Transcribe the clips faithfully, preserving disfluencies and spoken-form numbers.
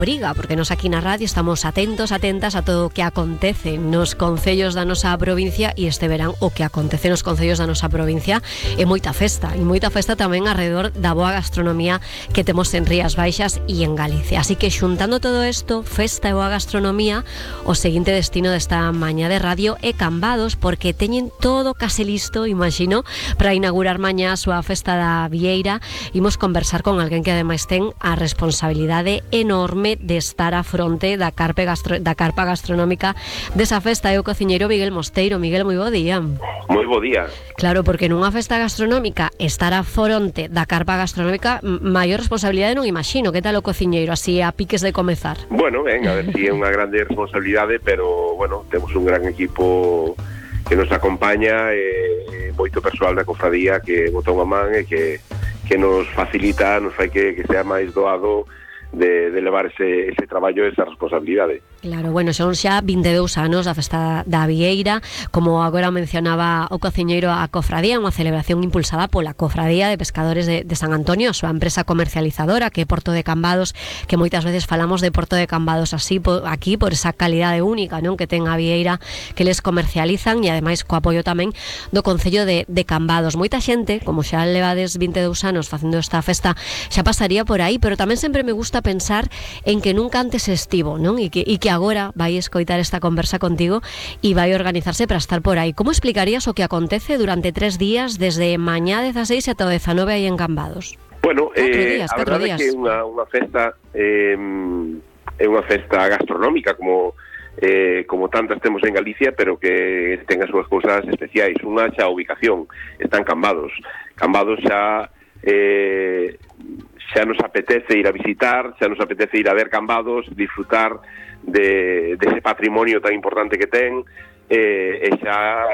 Obriga, porque nos aquí na radio estamos atentos, atentas a todo o que acontece nos concellos da nosa provincia, e este verán o que acontece nos concellos da nosa provincia é moita festa, e moita festa tamén alrededor da boa gastronomía que temos en Rías Baixas e en Galicia. Así que xuntando todo isto, festa e boa gastronomía, o seguinte destino desta mañá de radio é Cambados, porque teñen todo case listo, imagino, para inaugurar mañá a súa festa da Vieira. Imos conversar con alguén que ademais ten a responsabilidade enorme de estar a fronte da, carpe gastro, da carpa gastronómica desa festa. É o cociñeiro Miguel Mosteiro. Miguel, moi bo día. Moi bo día. Claro, porque nunha festa gastronómica estar a fronte da carpa gastronómica, maior responsabilidade non imagino. Que tal o cociñeiro, así a piques de comezar? Bueno, ben, a ver si é unha grande responsabilidade, pero, bueno, temos un gran equipo que nos acompaña, e, e moito persoal da cofradía que botou a man e que, que nos facilita, nos fai que, que sea máis doado de, de levar ese, ese traballo e esa responsabilidade. Claro, bueno, son xa vinte e dous anos da festa da Vieira, como agora mencionaba o cociñeiro, a cofradía, unha celebración impulsada pola Cofradía de Pescadores de, de San Antonio, a súa empresa comercializadora, que é Porto de Cambados, que moitas veces falamos de Porto de Cambados así po, aquí por esa calidade única, non, que ten a Vieira, que les comercializan, e ademais co apoio tamén do Concello de, de Cambados. Moita xente, como xa levades vinte e dous anos facendo esta festa, xa pasaría por aí, pero tamén sempre me gusta pensar en que nunca antes estivo, non? E que, e que agora vai escoitar esta conversa contigo e vai organizarse para estar por aí. Como explicarías o que acontece durante tres días, desde mañá dezaseis ata o dezanove aí en Cambados? Bueno, eh, días, a verdade é que é unha, unha festa eh, é unha festa gastronómica como eh, como tantas temos en Galicia, pero que ten as súas cousas especiais. Unha xa a ubicación, está en Cambados. Cambados xa eh, xa nos apetece ir a visitar, xa nos apetece ir a ver Cambados, disfrutar de, de ese patrimonio tan importante que ten, eh, e xa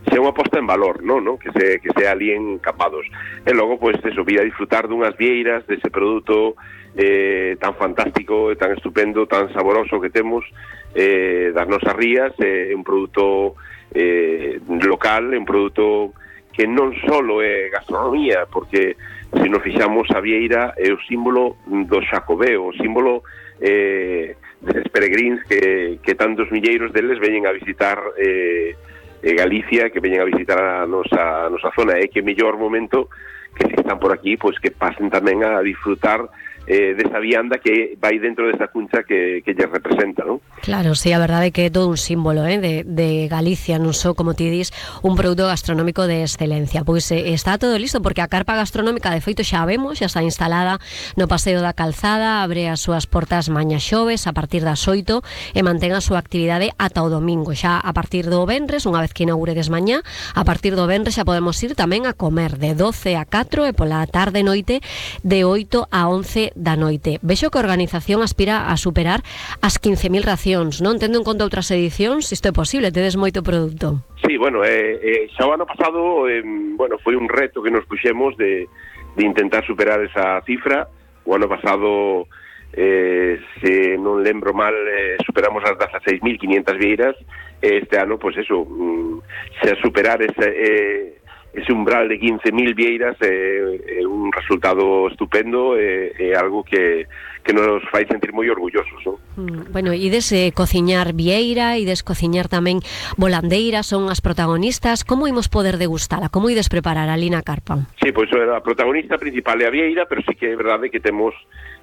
xa unha posta en valor, non, non? Que se que sea ali en Cambados. E logo, pois, eso, vir a disfrutar dunhas vieiras, dese produto eh, tan fantástico, tan estupendo, tan saboroso que temos eh, das nosas rías, é eh, un produto eh, local, un produto que non só é gastronomía, porque se nos fixamos, a vieira é o símbolo do Xacobeo, o símbolo eh, deses peregrins que, que tantos milleiros deles veñen a visitar eh, eh, Galicia, que veñen a visitar a nosa, a nosa zona, e que mellor momento que se están por aquí, pois que pasen tamén a disfrutar eh, desa vianda que vai dentro desa cuncha que, que lle representa, non? Claro, sí, a verdade é que é todo un símbolo eh, de, de Galicia, non só, como ti dis, un produto gastronómico de excelencia. Pois eh, está todo listo, porque a carpa gastronómica, de feito, xa vemos, xa está instalada no Paseo da Calzada, abre as súas portas mañá xoves a partir das oito e mantén a súa actividade ata o domingo. Xa a partir do venres, unha vez que inauguredes mañá, a partir do venres xa podemos ir tamén a comer de doce a catro e pola tarde noite de oito a once da noite. Vexo que a organización aspira a superar as quince mil racións, non? Tendo en conta outras edicións, isto é posible, tedes moito produto. Sí, bueno, eh, eh, xa o ano pasado, eh, bueno, foi un reto que nos puxemos de, de intentar superar esa cifra. O ano pasado, eh, se non lembro mal, eh, superamos as dezaseis mil quinientas vieiras. Este ano, pois pues eso, mm, se superar ese... Eh, ese umbral de quince mil vieiras é, é un resultado estupendo, é, é algo que, que nos fai sentir moi orgullosos, non? Mm, bueno, ides eh, cociñar vieira, ides cociñar tamén volandeira, son as protagonistas. Como imos poder degustala? Como ides preparar ali na carpa? Sí, pois a protagonista principal é a vieira, pero sí que é verdade que temos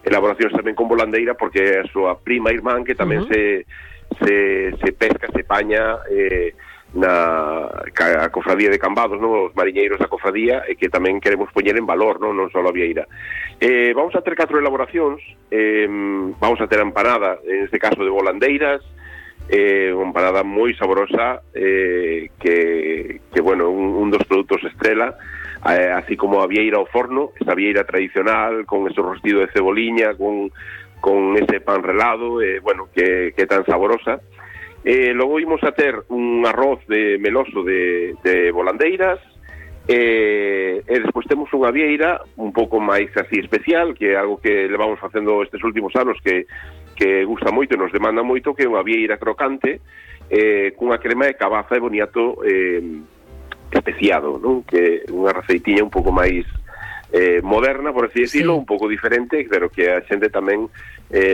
elaboracións tamén con volandeira, porque é a súa prima irmán que tamén uh -huh. se, se, se pesca, se paña eh, na a cofradía de Cambados, non? Os mariñeiros da cofradía, e que tamén queremos poñer en valor, non, non só a vieira. Eh, vamos a ter catro elaboracións, eh, vamos a ter a empanada, en este caso de volandeiras, eh, unha empanada moi saborosa, eh, que, que, bueno, un, un dos produtos estrela, eh, así como a vieira ao forno, esa vieira tradicional, con ese rostido de ceboliña, con, con ese pan relado, eh, bueno, que, que é tan saborosa. Eh, logo imos a ter un arroz de meloso de, de volandeiras, eh, e despois temos unha vieira un pouco máis así especial, que é algo que levamos facendo estes últimos anos, que, que gusta moito e nos demanda moito, que é unha vieira crocante eh, cunha crema de cabaza e boniato eh, especiado, non? Que é unha receitiña un pouco máis eh, moderna, por así decirlo, sí. Un pouco diferente, pero que a xente tamén eh,